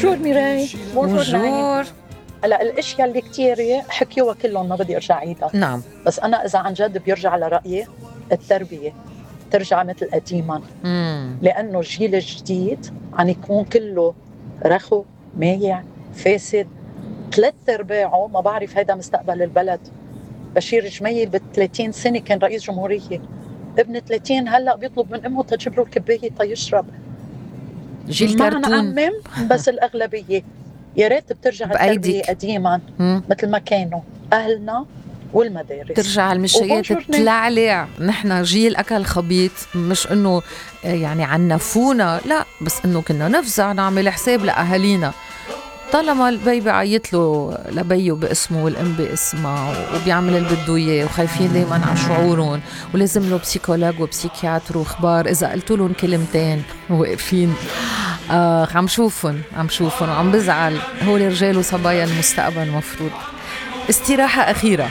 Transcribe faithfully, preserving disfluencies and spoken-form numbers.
بونجور ميراي. بونجور. هلا الاشياء اللي كتير حكيوها كلهم ما بدي ارجع عيدها. نعم. بس انا اذا عن جد بيرجع على رايي التربيه ترجع مثل قديما، لانه الجيل الجديد عم يكون كله رخو مايع فاسد، ثلاث ارباعه ما بعرف هيدا مستقبل البلد. بشير جميل بالثلاثين سنه كان رئيس جمهوريه، ابن ثلاثين هلا بيطلب من امه تجيب له الكبايه تيشرب. جيل ما كرتون. نعمم بس الاغلبيه يا ريت بترجع التربيه قديما مثل ما كانوا اهلنا والمدارس، ترجع المشيات تتلعلع. نحن جيل أكل خبيط، مش إنه يعني عنفونا، لا، بس إنه كنا نفزع نعمل حساب لأهالينا. طالما البي بعيط له لبيه باسمه والأم باسمها وبيعمل اللي بده إياه وخايفين دايما على شعورهم ولازم له بسيكولوج وبسيكياتر وخبار، إذا قلتوا لهم كلمتين واقفين. آه عم شوفهم عم شوفهم وعم بزعل. هو رجال وصبايا المستقبل مفروض. استراحة أخيرة.